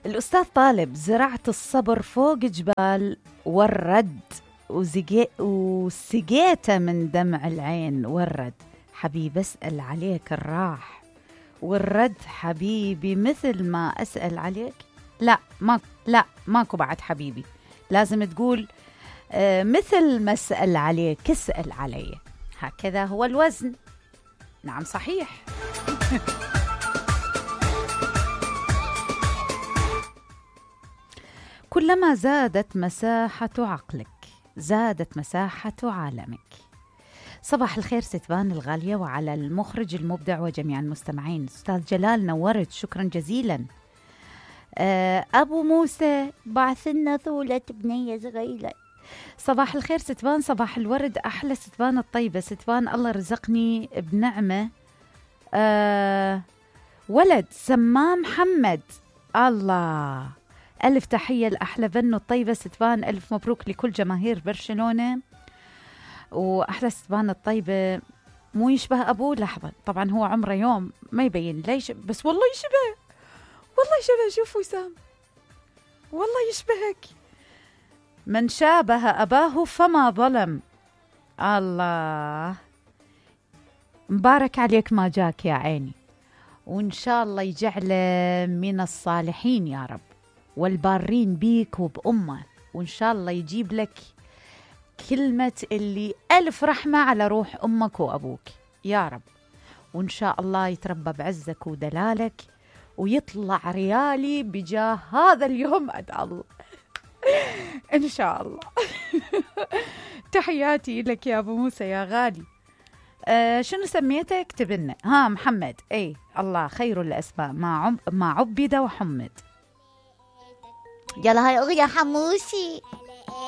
الأستاذ طالب: زرعت الصبر فوق جبال والرد وسقيته من دمع العين والرد. حبيبي أسأل عليك الراح والرد حبيبي مثل ما أسأل عليك. لا ماكو بعد حبيبي، لازم تقول مثل ما أسأل عليك اسأل علي. هكذا هو الوزن. نعم صحيح. كلما زادت مساحة عقلك زادت مساحة عالمك. صباح الخير ستبان الغالية، وعلى المخرج المبدع وجميع المستمعين. أستاذ جلال نورت، شكرا جزيلا. أبو موسى بعث لنا ثولة بنية صغيرة. صباح الخير ستبان، صباح الورد، أحلى ستبان الطيبة. ستبان الله رزقني بنعمة ولد سماه محمد. الله، ألف تحية لأحلى بنو الطيبة ستبان، ألف مبروك لكل جماهير برشلونة. وأحلى ستبان الطيبة مو يشبه أبوه. لحظة، طبعا هو عمره يوم ما يبين ليش، بس والله يشبه، والله يشبه. شوف وسام، والله يشبهك. من شابه أباه فما ظلم. الله، مبارك عليك ما جاك يا عيني، وإن شاء الله يجعله من الصالحين يا رب والبارين بيك وبأمه، وإن شاء الله يجيب لك كلمة اللي ألف رحمة على روح أمك وأبوك يا رب، وإن شاء الله يتربى بعزك ودلالك ويطلع ريالي بجاه هذا اليوم. أدعى الله إن شاء الله. تحياتي لك يا أبو موسى يا غالي. شنو سميته؟ اكتب لنا. محمد. اي الله خير الأسماء ما عبد وحمد. يلا هاي أغنية حموسي.